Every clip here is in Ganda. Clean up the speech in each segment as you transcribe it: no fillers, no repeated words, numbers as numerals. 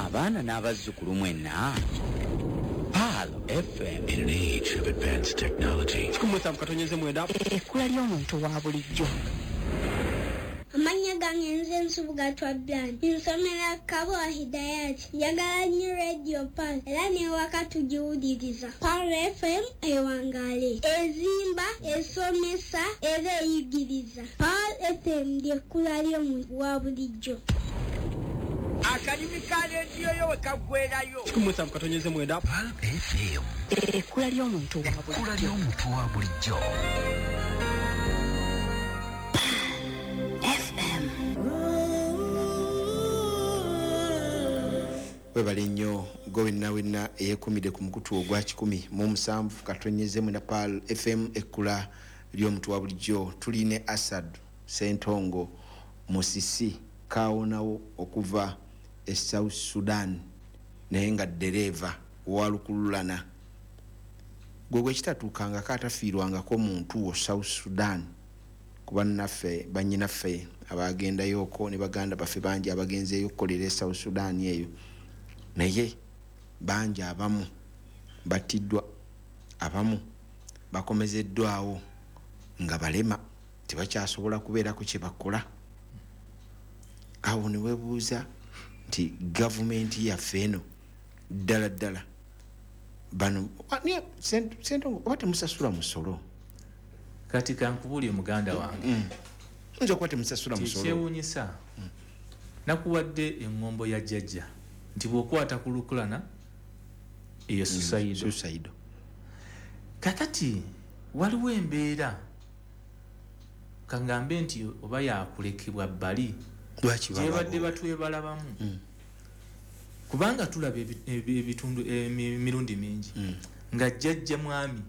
Abaana n'abazzukulu mwenna. Pearl FM. In an age of advanced technology. 17.9. Ekkula ly'omuntu wa bulijjo. Amannya gange nze Nsubuga Twablan. Nsomera Kabowa Hidayat. Njagala nnyo Radio Pearl era n'ewaka tugiwuliriza. Pearl FM ewangaale. Ezimba, esomesa era eyigiriza. Pearl FM ly'ekkula ly'omuntu wa bulijjo. Akalimi ka rediyo yo we kaggwerayo. 17.9. Pearl FM. Ekkula ly'omuntu wa bulijjo. Ekkula ly'omuntu wa bulijjo. Webale nnyo gwe wenna wenna eyeekumidde ku mukutu ogwa 107.9 na Pearl FM ekkula ly'omuntu wa bulijjo. Tuli ne Asad Ssentongo Musisi kawonawo okuva e South Sudan, naye nga ddereeva wa lukululana. Gwe gwe kitatuukangako atafiirwangako muntu wo South Sudan, kuba naffe bannyinaffe abagendayoko ne baganda baffe bangi abagenzeeyo okukolera e South Sudan eyo, naye bangi abamu battiddwa, abamu bakomezeddwawo nga balema, tebakyasobola kubeerako kye bakola. Awo ne weebuuza nti gavumenti yaffe eno ddala ddala bano Ssentongo oba temusasula musolo? Kati kankubuulire muganda wange. Nja kuba temusasula musolo. Kyewuunyisa, nakuwadde eŋŋombo ya jjajja nti bw'okwata ku lukulana eyo suicide. Kakati waliwo embeera kangambe nti oba yakulekebwa bbali gyebadde batwebalabamu, kubanga tulaba ebitundu emirundi mingi nga jjajja mwami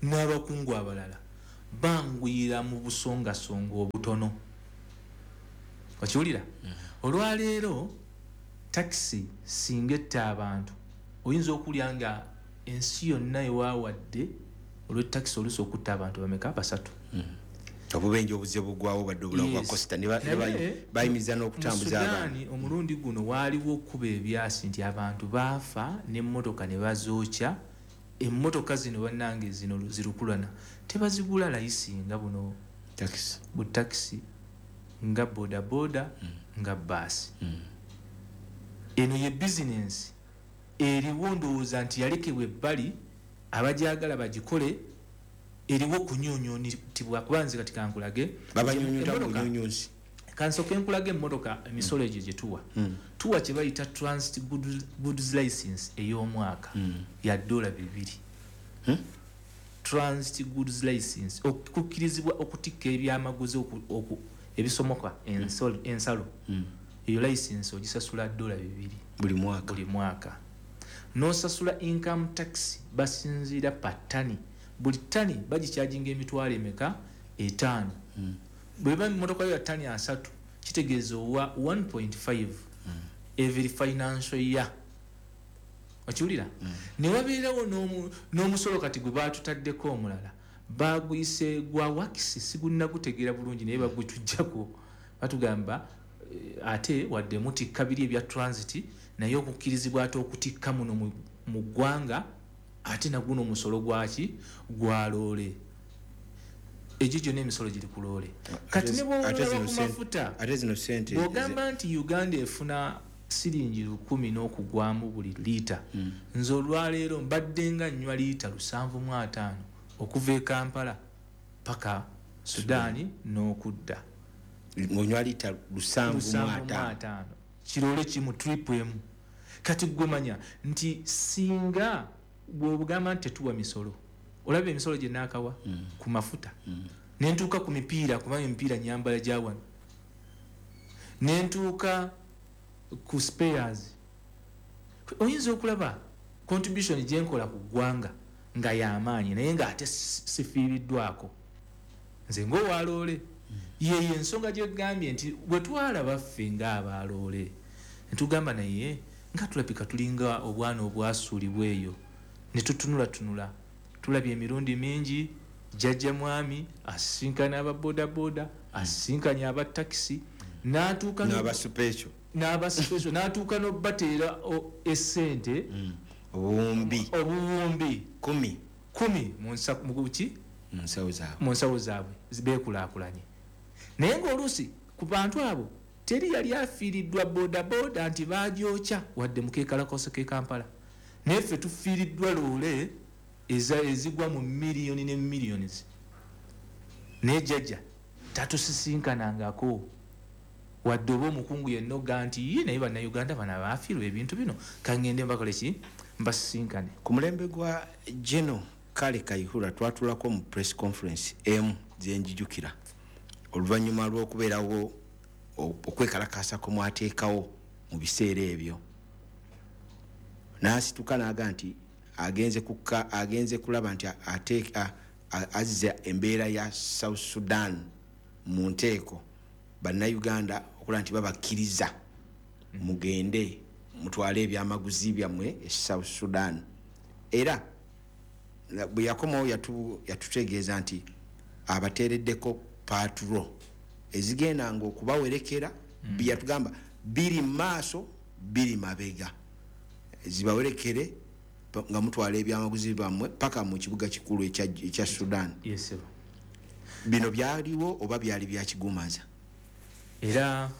n'abakungu abalala banguyira mu busongasonga obutono. Okiwulira? Olwaleero takisi singa etta abantu oyinza okulya nga ensi yonna ewawadde olw'ettakisi oluusi okutta abantu bameka? 3. Obubenje obuzze bugwawo badde obulamu bwa Costa ne bayimiza n'okutambuza abantu. Omulundi guno waaliwo okuba ebyasi nti abantu baafa n'emmotoka ne bazookya. Emmotoka zino bannange zino zirukulana tebazigula layisi nga buno bu takisi, nga bodaboda, nga baasi. Eno ye bizinensi eriwo, ndowooza nti yalekebwa ebbali, abajagala bagikole, eriwo kunyunyuntibwa. Kuba nze kati kankulage, kansooke nkulage emmotoka emisolo egyo gye tuwa. Tuwa kye bayita transit goods license ey'omwaka ya $2. Transit goods license okukkirizibwa okutikka ebyamaguzi ebisomoka ensalo. Eyo license ogisasula $2 buli mwaka. N'osasula income tax basinziira pa ttani. Buli ttani bagikyajinga emitwalo emeka? 5. Bweba emmotoka yo ya ttani 3 kitegeeza owa 1.5 every financial year. Okiwulira? Ne wabeerawo n'omusolo kati gwe baatutaddeko omulala, baguyise gwa wakisi, sigunnagutegeera bulungi naye bagutujjako. Batugamba ate wadde mutikka biri ebya transit, naye okukkirizibwa ate okutikka muno mu ggwanga ate naguno omusolo gwaki? Gwa loole. Egyo gyonna emisolo giri ku loole. Kati ne bw'olaba ku mafuta, bw'ogamba nti Uganda efuna siringi 1000 n'okugwamu buli liita, nze olwaleero mbadde nga nnywa liita 75 okuva e Kampala paka Sudaani n'okudda. Ng'onywa liita 75 kirole kimu trip emu. Kati gwe manya nti singa bw'obugamba nti tetuwa misolo, olaba emisolo gye naakawa ku mafuta, ne ntuuka ku mipiira, kubanga emipiira nyambala gya wano, ne ntuuka ku spares, oyinza okulaba contribution gye nkola ku ggwanga nga y'amaanyi, naye ng'ate sifiiriddwako. Nze ng'owaloole yeyo ensonga gye gambye nti bwe twalaba ffe ng'abaloole ne tugamba naye nga tulabika tulinga obwana obwasuulibwa eyo, ne tutunulatunula. Tulabye emirundi mingi jjajja mwami asisinkana aba bodaboda, asisinkanye aba takisi, n'atuuka n'aba special. N'aba special n'atuuka n'obateera essente obuwumbi 10 mu nsawo zaabwe beekulaakulanye. Naye ng'oluusi ku bantu abo teri yali afiiriddwa bodaboda nti bagyokya wadde mu keekalakoso k'e Kampala, naye ffe tufiiriddwa loole ezigwa mu miliyoni ne millions. Naye jjajja tatusisinkanangako wadde oba omukungu yenna oga nti ye naye bannayuganda bano abaafiirwa ebintu bino kangende mbakole ki mbasisinkane. Ku mulembe gwa General Kale Kayihura twatulako mu press conference emu zenjijukira oluvannyuma lw'okubeerawo okwekalakaasa kwe mwateekawo mu biseera ebyo, n'asituka n'aga nti agenze kulaba nti azza embeera ya South Sudan mu nteeko, bannayuganda okulaba nti babakkiriza mugende mutwale ebyamaguzi byammwe e South Sudan. Era bwe yakomawo yatutegeeza nti abateereddeko patrol ezigendanga okubawerekera, yatugamba biri maaso biri mabega, zibawerekere nga mutwala ebyamaguzi bammwe paka mu kibuga kikulu ekya Sudan. Yes, bino byaliwo oba byali bya kigumaza? Era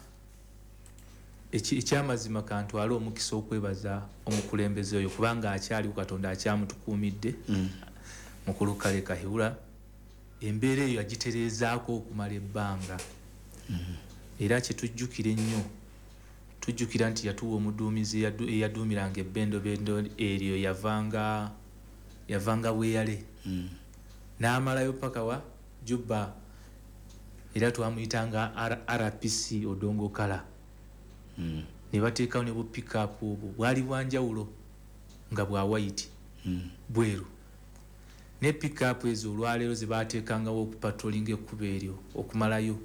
ekyamazima kantwale omukisa okwebaza omukulembeze oyo kubanga akyaliwo, Katonda akyamutukuumidde, mukulu Kale Kayihura. Embeera eyo yagitereezaako okumala ebbanga. Era kyetujjukira ennyo, tujjukira nti yatuwa omuduumizi eyaduumiranga ebbendobendo eryo, yavanga Bweyale n'amalayo paka wa Juba, era twamuyitanga RPC Odongo Kala. Ne bateekawo ne bu pick-up obwo bwali bwanjawulo nga bwa white bweru, ne pick-up ezo olwaleero ze baateekangawo okupatrolinga ekkubo eryo okumalayo.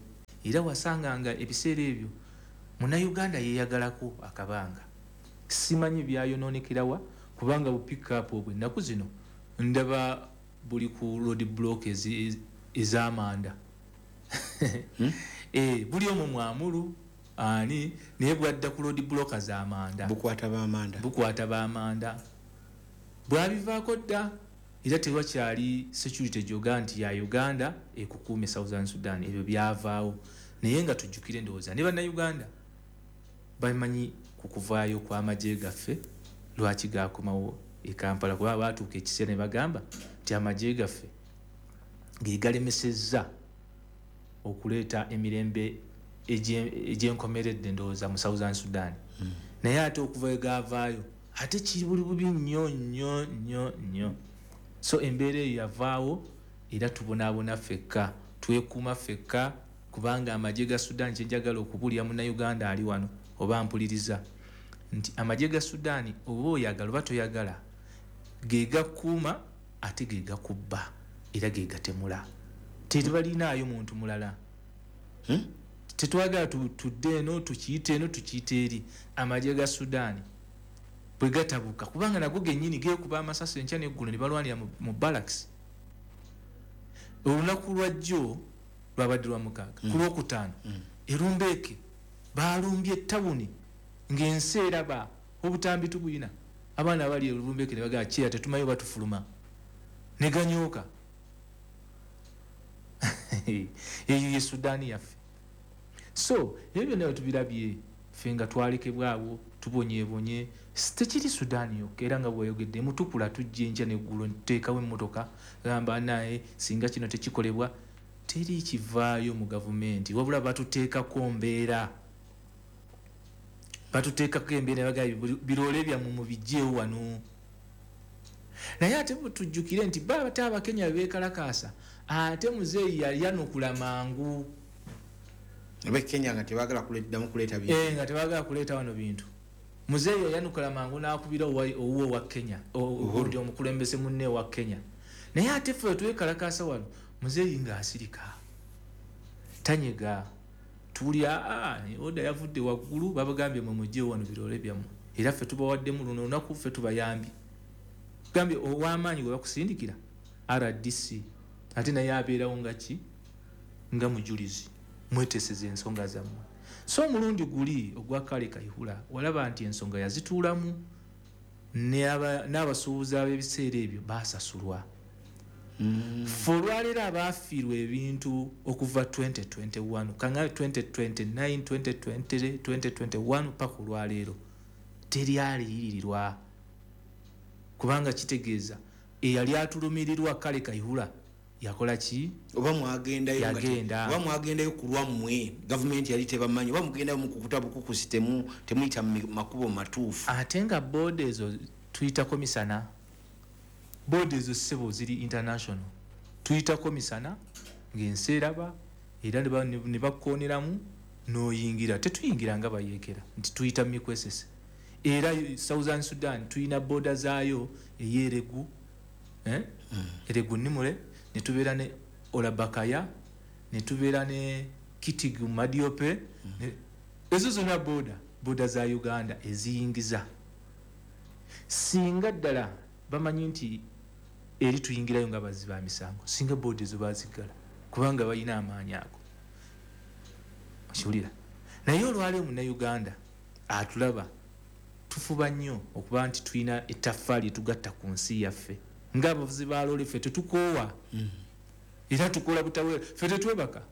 Era wasanganga ebiseera ebyo munnayuganda yeeyagalako akabanga, simanyi byayonoonekerawa kubanga bu pick-up obwo ennaku zino ndaba buli ku road block ez'amanda. Buli omwo mwamulu ani naye bwadda ku road block z'amanda, bukwata b'amanda bwabivaako dda. Era tewakyali security gyoga nti ya Uganda ekukuume Southern Sudan, ebyo byavaawo. Naye nga tujjukire ndowooza ne bannayuganda bamanyi ku kuvaayo kw'amagye gaffe lwaki gakomawo e Kampala, kuba baatuuka ekiseera ne bagamba nti amagye gaffe ge galemesezza okuleeta emirembe egyenkomeredde ndowooza mu Southern Sudan. Naye ate okuva we gaavaayo ate kiri buli bubi nnyo nnyo nnyo nnyo. So embeera eyo yavaawo era tubonaabona ffekka, twekuuma ffekka, kubanga amagye ga Sudan, kyenjagala okubuulira munnayuganda ali wano oba mpuliriza nti amagye ga Sudan oba oyagala oba toyagala ge gakuuma ate ge gakubba era ge gatemula. Tebalinaayo muntu mulala. Tetwagala tudde eno tukiyite eno tukiyite eri. Amagye ga Sudan bwe gatabuka, kubanga nago gennyini geekuba amasasi enkya n'eggulo ne balwanira mu barracks. Olunaku lwajjo lwabadde lwa mukaaga, ku lwokutaano Erumbeeke baalumbye ettawuni ng'ensi eraba obutambi tubuyina. Abaana abali Erumbeeke ne bagamba kyeya tetumanyi oba tufuluma, ne ganyooka. Eyo ye Sudan yaffe. So ebyo byonna tubirabye ffe nga twalekebwawo tubonyeebonye. Tekiri Sudan yokka, era nga bweyogedde mutukula tujja enkya n'eggulo ntuteekawo emmotoka gamba naye singa kino tekikolebwa, teri kivaayo mu gavumenti, wabula batuteekako mbeera, batuteekako embeera bagamba biroole byammwe mubiggyeewo wano. Naye ate tujjukire nti ba ate Abakenya beekalakaasa, ate muzeeyi yayanukula mangu. Abakenya nga tebaagala kuleetaddamu kuleeta bintu. Nga tebaagala kuleeta wano bintu. Muzeeyi yayanukula mangu n'akubira owuwe owa Kenya, ogundi omukulembeze munne owa Kenya. Naye ate ffe twekalakaasa wano, muzeeyi ng'asirika tanyega, tuwulira oda yavudde waggulu, babagambye mwe mugyewo wano biroole byammwe, era ffe tubawaddemu luno olunaku ffe tubayambye. Gambye ow'amaanyi gwe bakusindikira RDC, ate naye abeerawo nga ki, nga mujulizi, mweteseza ensonga zammwe. So omulundi guli ogwa Kale Kayihura walaba nti ensonga yazituulamu, n'abasuubuzi ab'ebiseera ebyo basasulwa. Ffe olwaleero abaafiirwa ebintu okuva 2021 kanga 2029, 2020, 2021 paka olwaleero teryaliyirirwa, kubanga kitegeeza eyali atulumirirwa Kale Kayihura yakola ki? Oba mwagendayo nga Yagenda. Oba mwagendayo ku lwammwe, gavumenti yali tebamanyi, oba mugendayo mukukuta bukukusi, temuyita mu makubo matuufu. Ate nga boda ezo tuyitako misana, boda ezo ssebo ziri international, tuyitako misana ng'ensi eraba, era ne bakukooneramu n'oyingira. Tetuyingira nga bayeekera nti tuyita mikwesese. Era Southern Sudan tuyina boda zaayo ey'Eregu, Eregu Nimule, ne tubeera ne Olabakaya, ne tubeera ne Kitigu Madiope, ezo zonna boda za Uganda eziyingiza. Singa ddala bamanyi nti eri tuyingirayo nga bazzi ba misango, singa boda ezo baziggala, kubanga balina amaanyi ago. Okiwulira? Naye olwaleero munnayuganda atulaba tufuba nnyo okuba nti tulina ettaffaali etugatta ku nsi yaffe. Ng'abavuzi ba loole ffe tetukoowa, era tukola butawera, ffe tetwebaka.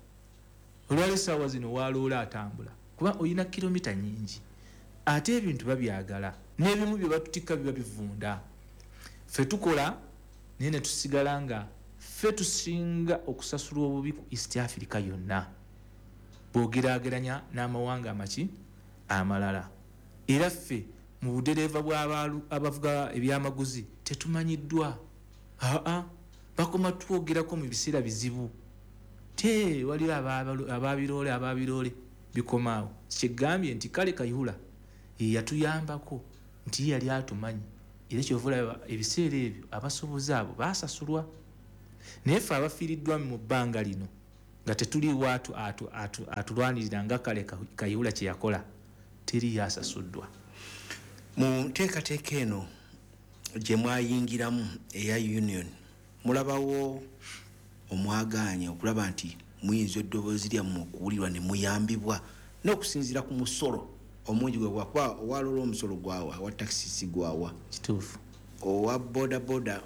Olwaleero essaawa zino wa loole atambula kuba olina kilomita nnyingi, ate ebintu babyagala n'ebimu bye batutikka biba bivunda. Ffe tukola naye ne tusigala nga ffe tusinga okusasulwa obubi ku East Africa yonna bw'ogeraageranya n'amawanga amaki amalala. Era ffe mu budereeva abavuga ebyamaguzi tetumanyiddwa. Aa, bakoma twogerako mu biseera bizibu. Te waliwo ababiroole bikomaawo. Kyegambye nti Kale Kayihura ye yatuyambako nti ye yali atumanyi, era kyova olaba ebiseera ebyo abasuubuzi abo baasasulwa. Naye ffe abafiiriddwa mu bbanga lino nga tetuliiwo atulwanirira nga Kale Kayihura kye yakola, teriyo asasuddwa. Mu nteekateeka eno gye mwayingiramu eya union, mulabawo omwagaanya okulaba nti muyinza eddoboozi lyammwe okuwulirwa ne muyambibwa n'okusinziira ku musolo omungi gwe gwakuba owalola omusolo gwawa, owa takisi si gwawa. Kituufu. Owa boda boda,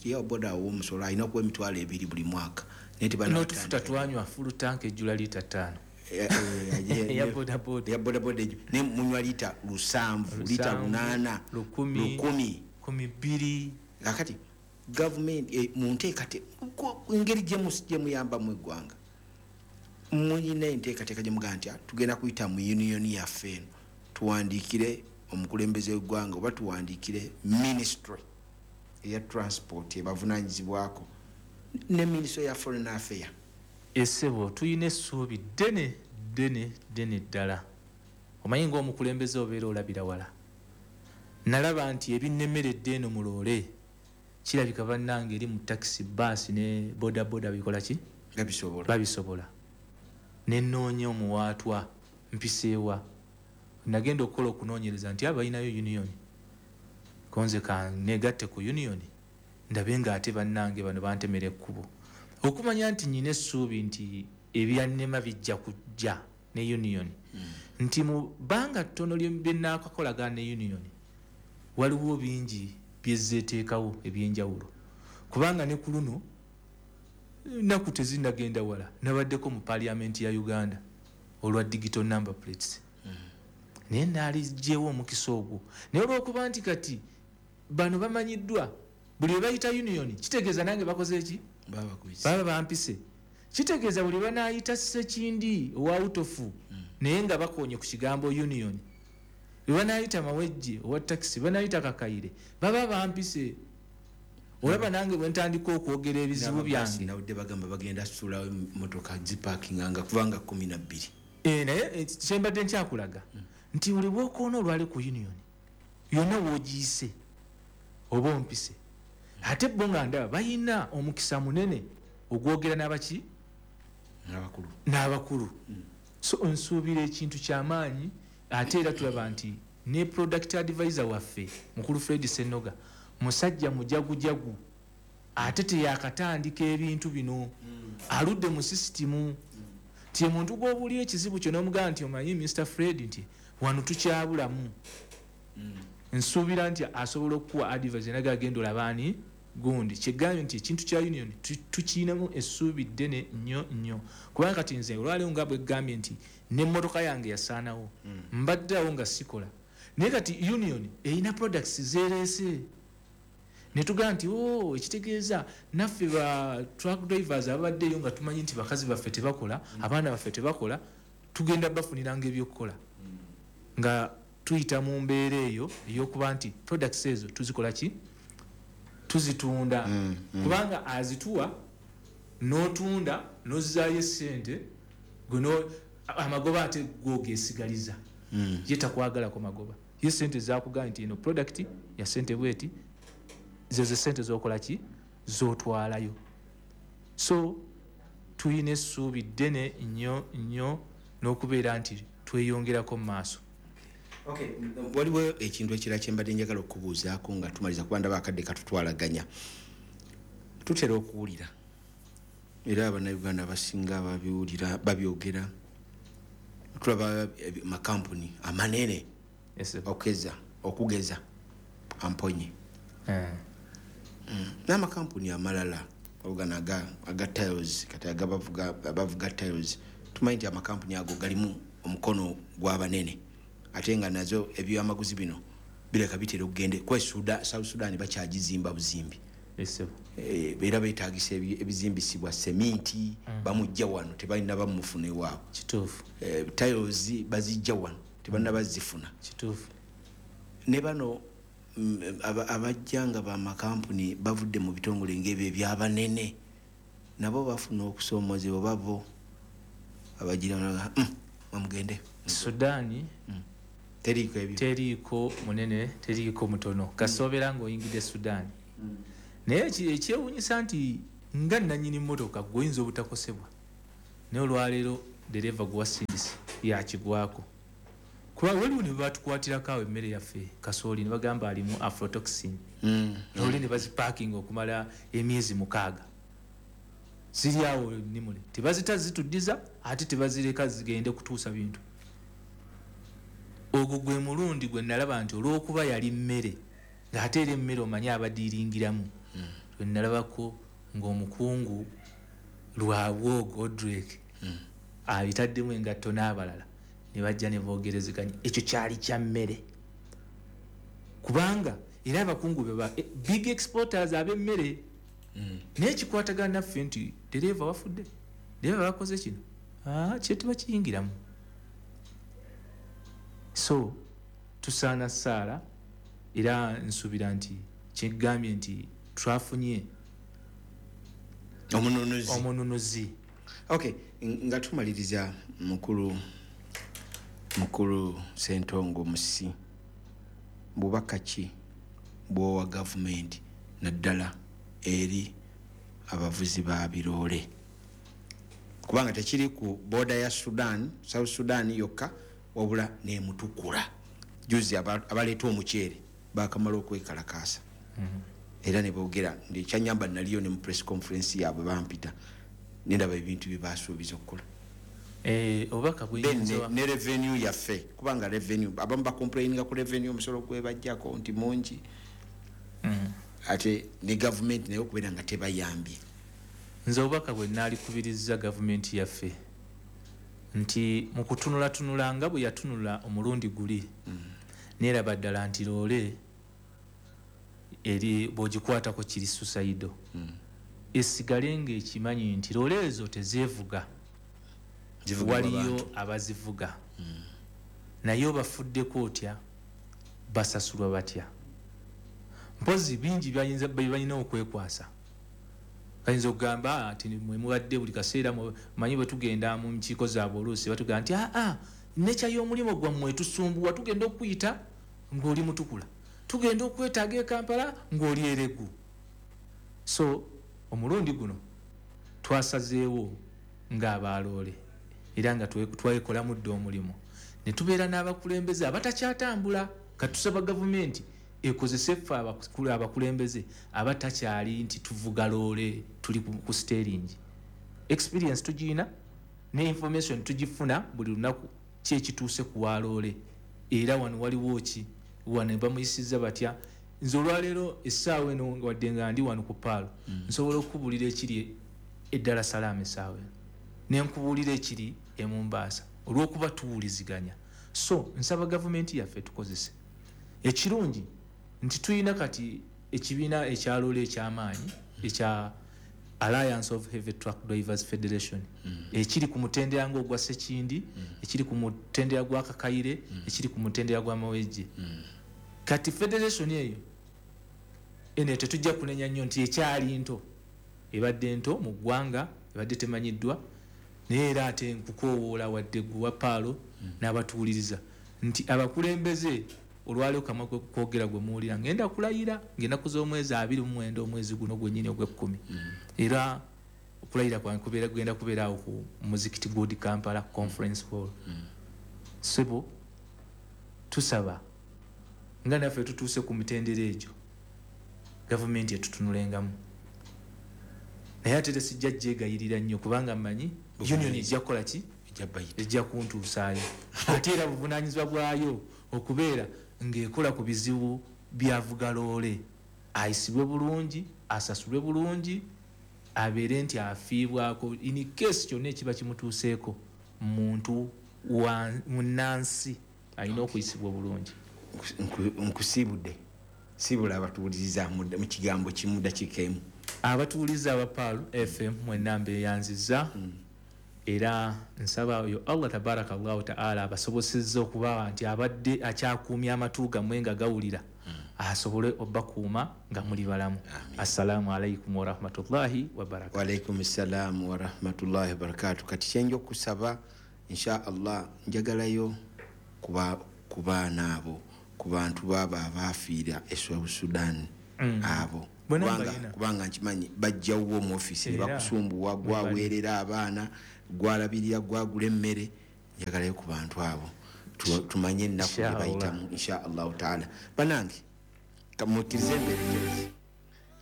ye owa boda awa omusolo alina okuwa emitwalo ebiri buli mwaka. Naye tebalina N'otufuta kutandika. twanywa full tank ejjula liita 5. Eya boda boda. Eya boda boda ejju. Naye munywa liita 7, liita 7, 8, 1000, 1000. 12. Kakati gavumenti, mu nteekateeka, engeri gye muyambamu eggwanga, mulina enteekateeka gye mugamba nti, tugenda kuyita mu union yaffe eno, tuwandiikire omukulembeze w'eggwanga oba tuwandiikire ministry eya transport ebavunaanyizibwako ne ministry ya foreign affairs. Essebo tulina essuubi ddene ddene ddene ddala. Omanyi ng'omukulembeze obeera olabira wala. Nalaba nti ebinnemeredde eno mu loole kirabika bannange eri mu takisi, baasi ne boda boda bikola ki? Babisobola. Babisobola. Ne nnoonya omuwaatwa mpiseewa. Nagenda okukola okunoonyereza nti abalinayo union. Konze ka negatte ku union ndabe ng'ate bannange bano bantemera ekkubo. Okumanya nti nnyina essuubi nti ebyannema bijja kujja ne union. Nti mu bbanga ttono lye nnaakakolagana ne union, waliwo bingi byezzeeteekawo ebyenjawulo. Kubanga ne ku luno nnaku tezinnagenda wala, nabaddeko mu parliament ya Uganda olwa digital number plates. Naye naaliggyewo omukisa ogwo. Naye olw'okuba nti kati bano bamanyiddwa, buli lwe bayita union kitegeeza nange bakoze ki? Baba bakuyise. Baba bampise. Kitegeeza buli banaayita Ssekindi owa Utofu, naye nga bakoonye ku kigambo union. Bwe banaayita Mawejje owa takisi, banaayita Kakaire, baba bampise. Olaba nange bwe ntandika okwogera ebizibu N'ababaasi byange. Nawudde bagamba bagenda ssulawo emmotoka zipaakinga nga kubanga 12. Naye, kye mbadde nkyakulaga nti buli bw'okoona olwali ku union yonna w'ogiyise oba ompise. Ate bo nga ndaba balina omukisa munene ogwogera n'abaki? N'abakulu. N'abakulu. So nsuubira ekintu kyamaanyi. Ate era tulaba nti ne product advisor waffe mukulu Fred Senoga musajja mujagujagu, ate teyakatandika ebintu bino, aludde mu sisitimu. Ti omuntu gw'obuulira ekizibu kyo n'omugamba nti omanyi Mr Fred nti wano tukyabulamu. Nsuubira nti asobola okukuwa advice naga agenda olabaani gundi. Kyegambye nti ekintu kya union tukiyinamu essuubi ddene nnyo nnyo, kubanga kati nze olwaleero nga bwe ggambye nti n'emmotoka yange yasaanawo, mbadde awo nga sikola, naye kati union erina products zeereese ne tugamba nti o ekitegeeza naffe ba truck drivers ababaddeyo nga tumanyi nti bakazi baffe tebakola, abaana baffe tebakola, tugenda bafuniranga ebyokukola nga tuyita mu mbeera eyo ey'okuba nti products ezo tuzikola ki, tuzitunda. Kubanga azituwa n'otunda n'ozzaayo essente, amagoba ate gwogeesigaliza. Ye takwagalako magoba, ye sente zakugamba nti eno product ya sente bweti, zezo sente zokola ki, zotwalayo. So tuyina essuubi ddene nnyo nnyo n'okubeera nti tweyongerako mu maaso. Okay, waliwo ekintu ekirala kye mbadde njagala okubuuzaako nga tumaliza, kuba ndaba akadde katutwalaganya. Tutera okuwulira era Abannayuganda abasinga babiwulira, babyogera, tulaba makampuni amanene okugeza Amponye n'amakampuni amalala ogana aga tiles, kati abavuga tiles, tumanyi nti amakampuni ago galimu omukono gw'abanene, ate nga nazo ebyamaguzi bino bireka bitera okugenda kwa South Sudan bakyagizimba buzimbi. Era beetagisa ebizimbisibwa seminti, bamujja wano tebalina bamufuna ewaabwe. Kituufu. Tiles bazijja wano tebalina bazifuna. Kituufu. Ne bano abajja nga bamakampuni bavudde mu bitongole ng'ebyo ebyabanene, nabo bafuna okusoomozebwa babo abagira mugende Sudan. Teriiko ebyo, teriiko munene, teriiko mutono, kasoobera ng'oyingidde Sudan. Naye ekyewuunyisa nti nga nannyini mmotoka gweoyinza obutakosebwa, naye olwaleero dereva gwewasindise yakigwako, kuba waliwo ne batukwatirako awo emmere yaffe kasooli ne bagamba alimu aflatoxin, oli ne bazipaakinga okumala emyezi 6 ziri awo nimule, tebazita zituddiza ate tebazireka zigende kutuusa bintu. Ogwo gwe mulundi gwe nalaba nti olw'okuba yali mmere ng'ate era emmere omanyi abadiiringiramu, lwe nalabako ng'omukungu Lwabwogo Odrek abitaddemu engatto n'abalala ne bajja ne boogerezeganya. Ekyo kyali kya mmere, kubanga era abakungu be ba big exporters ab'emmere, naye kikwatagana naffe nti dereeva wafudde, dereeva bakoze kino, kye tebakiyingiramu. So tusaana ssaala, era nsuubira nti kyegambye nti twafunye omununuzi. Okay, nga tumaliriza mukulu Ssentongo Musisi, bubaka ki bw'owa gavumenti naddala eri abavuzi ba biroole, kubanga tekiri ku boda ya Sudan, South Sudan yokka, wabula n'emutukula. Juzi abaleeta omuceere bakamala okwekalakaasa, era ne boogera ekyanyamba naliyo ne mu press conference yaabwe bampita nendaba ebintu bye basuubiza okukola. Obubaka buyinza ne revenue yaffe, kubanga revenue abamu bacomplaininga ku revenue, omusolo gwebajjako nti mungi, ate ne gavumenti naye okubeera nga tebayambye. Nze obubaka bwe naalikubiriza gavumenti yaffe nti mu kutunulatunula nga bwe yatunula omulundi guli, neeraba ddala nti loole eri bw'ogikwatako kiri suicide, esigale ng'ekimanyi nti loole ezo tezeevuga, waliyo abazivuga, naye obafuddeko otya, basasulwa batya? Mpozi bingi balina okwekwasa. Kayinza okugamba nti mwe mubadde buli kaseera manyi bwe tugenda mu nkiiko zaabwe oluusi batugamba nti nekya y'omulimu gwammwe tusumbuwa, tugenda okuyita ng'oli mutukula, tugenda okwetaaga e Kampala ng'oli eregu. So omulundi guno twasazeewo ng'abaloole era nga twekolamu dda omulimu ne tubeera n'abakulembeze abatakyatambula. Katusaba gavumenti ekozese ffe abakulembeze abatakyali nti tuvuga loole tuli ku steering. Experience tugiyina, Ne information tugifuna buli lunaku, ki ekituuse ku waloole, era wano waliwo ki, wano bamuyisizza batya. Nze olwaleero essaawa eno, wadde nga ndi wano ku Paalo, nsobola okukubuulira ekiri e Dar es Salaam essaawa eno, nenkubuulira ekiri e Mombasa, olw'okuba tuwuliziganya. So nsaba gavumenti yaffe tukozese ekirungi nti tulina kati ekibiina ekyaloole ekyamaanyi ekya Alliance of Heavy Truck Drivers Federation, ekiri ku mutendera ng'ogwa Sekindi, ekiri ku mutendera gwa Kakaire, ekiri ku mutendera gwa Mawejje. Kati federation eyo eno tetujja kunenya nnyo nti ekyali nto, ebadde nto mu ggwanga, ebadde temanyiddwa, naye era ate nkukoowoola wadde gwe wa Paalo n'abatuwuliriza nti abakulembeze olwaleero kamwa kwogera gwe muwulira, ngenda kulayira ng'ennaku z'omwezi 29 omwezi guno gwennyini ogw'ekkumi. Era okulayira kwange kubeera kugenda kubeera awo ku muzikiti Good Kampala Conference Hall. Ssebo, tusaba nga naffe tutuuse ku mitendera egyo, gavumenti etutunulengamu, naye ate tesijja gyegayirira nnyo, kubanga mmanyi union ejja kukola ki, ejja kuntuusaayo. Ate era buvunaanyizibwa bwayo okubeera ng'ekola ku bizibu byavuga loole, ayisibwe bulungi, asasulwe bulungi, abeere nti afiibwako in case kyonna ekiba kimutuuseeko. Muntu wa munnansi alina okuyisibwa obulungi. Nkusiibudde, siibula abatuwuliriza mu kigambo kimu, dakiika emu. Abatuwuliriza aba Pearl FM mwenna mbeeyanzizza, era nsaba oyo Allah tabaraka Allahu taala abasobosezza okuba nti abadde akyakuumya amatu gammwe nga gawulira, asobole obbakuuma nga muli balamu. Assalamu alaikum warahmatullahi wabarakatu. Waalaikum salaamu warahmatullahi wabarakatu. Kati kyenja okusaba, insha Allah, njagalayo ku baana abo, ku bantu baaba abaafiira e South Sudan abo, Bonna kubanga, mbalina. kubanga nkimanyi bajjawo mu ofiisi ne Era, bakusumbuwa, gwaweerera abaana, gwalabirira, gwagula emmere. Njagalayo ku bantu abo tumanye ennaku gye Insha Allah. bayitamu, insha Allahu taala. Banange, kamukkirize emberekerezi,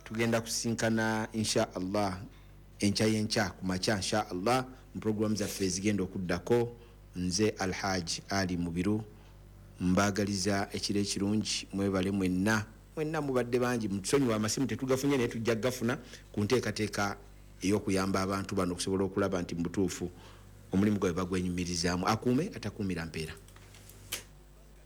tugenda kusinkana insha Allah enkya yenkya ku makya, insha Allah, mu programu zaffe ezigenda okuddako. Nze Alhaji Ali Mubiru, mbaagaliza ekiro ekirungi. Mwebale mwenna mwenna, mubadde bangi. Mutusonyiwa amasimu tetugafunye, naye tujja gafuna ku nteekateeka ey'okuyamba abantu bano okusobola okulaba nti mu butuufu omulimu gwabwe bagwenyumirizaamu. Akuume atakuumira mpeera.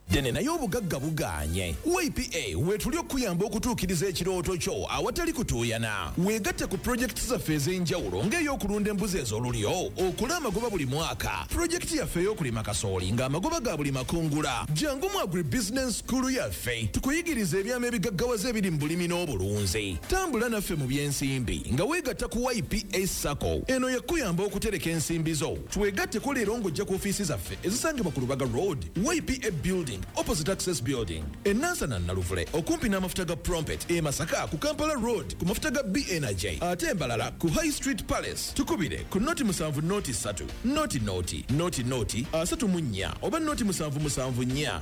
Ddene naye obugagga bugaanye. YPA weetuli okukuyamba okutuukiriza ekirooto kyo awatali kutuuyana. Weegatte ku pulojekiti zaffe ez'enjawulo ng'ey'okulunda embuzi ez'olulyo okole amagoba buli mwaka, pulojekiti yaffe ey'okulima kasooli ng'amagoba ga buli makungula. Jangu mu agribusiness school yaffe tukuyigiriza ebyama ebigaggawaza ebiri mu bulimi n'obulunzi. Tambula naffe mu by'ensimbi nga weegatta ku YPA SACCO. Eno yakuyamba okutereka ensimbi zo. Twegatteko leero ng'ojja ku ofiisi zaffe ezisangibwa ku Lubaga Road, YPA Building, opposite Access Building, enansana Naluvule okumpi n'amafuta ga Prompet, e Masaka ku Kampala Road ku mafuta ga BNJ, ate embalala ku High Street Palace. Tukubire ku 0 7 0 3 0 0 0 0 34 oba 0 7 7 4 31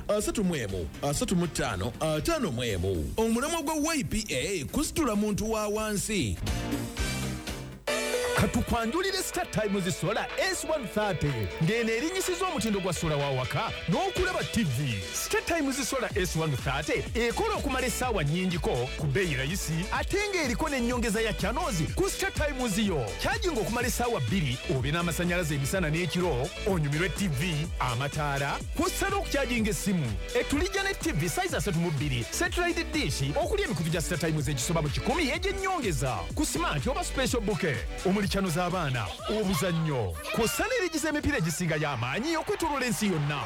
35 51. Omulamwa gwa YPA kusitula muntu wa wansi. Katukwanjulire Star Times Solar S130, ng'eno erinyisiza omutindo gwa sola wa waka n'okulaba TV. Star Times Solar S130 ekola okumala essaawa nnyingiko ku bbeeyi rayisi, ate ng'eriko n'ennyongeza ya channels ku Star Times yo. Kyajinga okumala essaawa 2 obe n'amasannyalaze emisana n'ekiro, onyumirwe TV, amataala, kw'ossa n'okukyajinga essimu. Etulijja ne TV size 32, satellite dish okuli emikutu gya Star Times egisoba mu 100 egy'ennyongeza ku smart oba special bouquet omuli channel z'abaana, obuzannyo, kw'ossa n'erigiza emipiira egisinga y'amaanyi okwetooloola ensi yonna.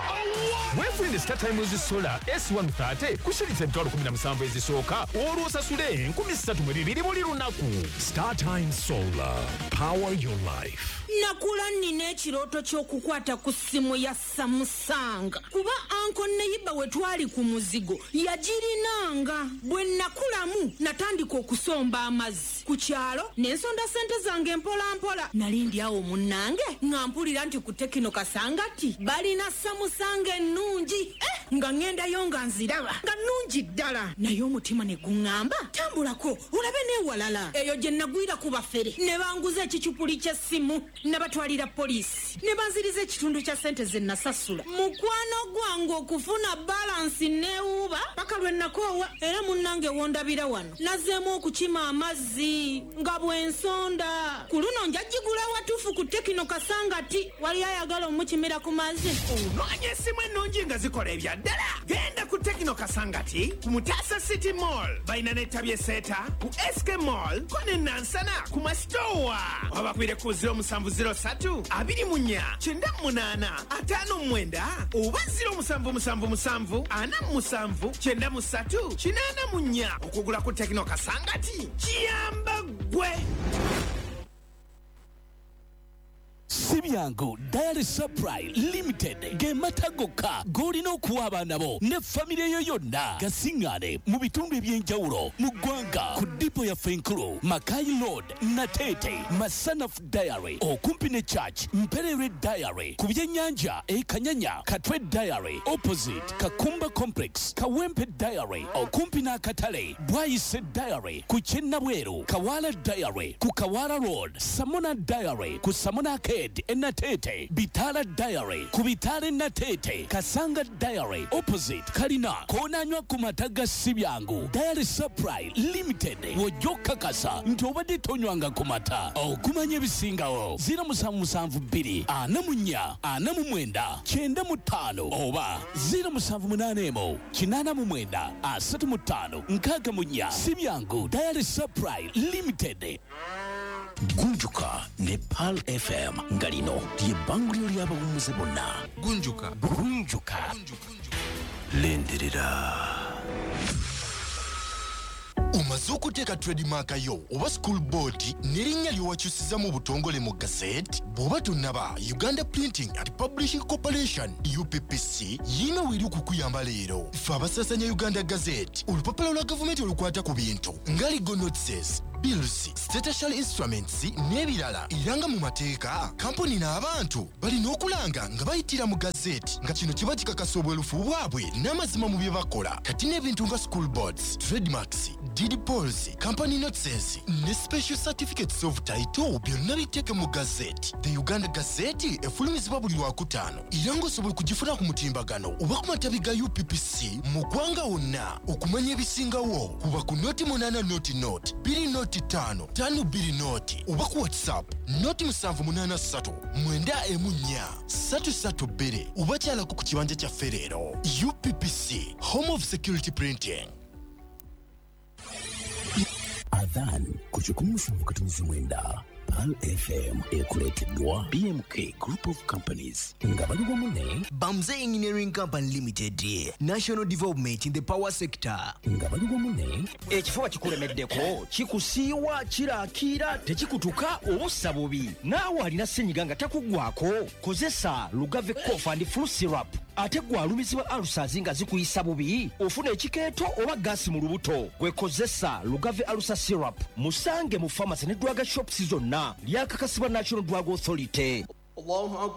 Weefunire Star Times Solar S130 ku shilingi 17,000 ezisooka, olwo osasule 3,200 buli lunaku. Star Times Solar, power your life. Nakula nnina ekirooto ky'okukwata ku ssimu ya Samsung, kuba uncle neighbour we twali ku muzigo yagirinanga. Bwe nakulamu natandika okusomba amazzi ku kyalo ne nsonda sente zange mpola. mpola mpola. Nali ndi awo munnange nga mpulira nti ku Tecno Kasangati balina Samsung ennungi. Nga ŋŋendayo nga nziraba nga nnungi ddala, naye omutima ne guŋŋamba tambulako olabe n'ewalala. Eyo gye nagwira ku bafere ne banguza ekicupuli ky'essimu, nabatwalira poliisi ne banziriza ekitundu kya ssente ze nasasula. Mukwano gwange okufuna balance neewuuba paka lwe nakoowa. Era munnange wondabira wano nazzeemu okukima amazzi nga bw'ensonda. Ku luno njagigula watuufu ku Tecno Kasangati. Wali ayagala omukimira ku mazzi? Onoonya essimu ennungi nga zikola ebya ddala? Genda ku Tecno Kasangati ku Mutasa City Mall, balina n'ettabi eseeta ku SK Mall ko ne Nansana ku Masitowa. Wabakubire ku 0703 24 98 59 oba 0777 47 93 84. Okugula ku Tecno Kasangati kiyamba ggwe. Sibyangu Dairy Supply Limited ge mata gokka g'olina okuwa abaana bo ne famire yo yonna. Gasiŋŋaane mu bitundu eby'enjawulo mu ggwanga ku depot yaffe enkulu, Makai Road, Natete, Masanaf Dairy okumpi ne Church, Mperere Dairy ku byennyanja e Kanyanya, Katwe Dairy opposite Kakumba Complex, Kawempe Dairy okumpi n'akatale, Bwayise Dairy ku Kyennabweru, Kawala Dairy ku Kawala Road, Samona Dairy ku Samona Arcade Enatete, Bitala Dairy ku Bitala Enatete, Kasanga Dairy opposite Kalina. Koonanywa ku mata ga Sibyangu Dairy Supply Limited, wojja okukakasa nti obadde tonywanga ku mata. Okumanya ebisingawo 0772 44 49 95 oba 0781 89 35 64. Sibyangu Dairy Supply Limited. Gunjuka ne Pearl FM nga lino lye bbanguliro ly'abawummuze bonna. Gunjuka. Gunjuka. Lindirira. Omaze okuteeka trademark yo oba school board n'erinnya ly'owakyusiza mu butongole mu gazette? Bw'oba tonnaba, Uganda Printing and Publishing Corporation, UPPC, yiina weeri okukuyamba leero. Ffe abasaasanya Uganda Gazette, olupapula lwa gavumenti olukwata ku bintu nga legal notices, bills, statutory instruments n'ebirala. Era nga mu mateeka, kampuni n'abantu balina okulanga nga bayitira mu gazeti, nga kino kiba kikakasa obwerufu bwabwe n'amazima mu bye bakola. Kati n'ebintu nga school boards, trademarks, deed polls, company notices ne special certificates of title byonna biteeke mu gazeti. The Uganda Gazette efulumizibwa buli Lwakutaano, era ng'osobola okugifuna ku mutimbagano oba ku matabi ga UPPC mu ggwanga wonna. Okumanya ebisingawo kuba ku 080 00 20 5 5 2 0 oba ku WhatsApp 078 314 332 oba kyalako ku kibanja kyaffe leero. UPPC, home of security printing. Adhan ku 107.9 Pearl FM ekuleeteddwa BMK Group of Companies nga bali wamu ne Bamze Engineering Company Limited, national development in the power sector. Nga bali wamu ne Ekifuba kikulemeddeko, kikusiiwa, kirakiira, tekikutuka oba ossa bubi, naawe alina senyiga nga takuggwako, kozesa Lugave Cough and Flu Syrup. Ate gwe alumizibwa ulcers nga zikuyisa bubi, ofuna ekikeeto oba gaasi mu lubuto, gwe kozesa Lugave Ulcer Syrup. Musange mu pharmacy ne drug shops zonna. Lyakakasibwa National Drug Authority. Allahu.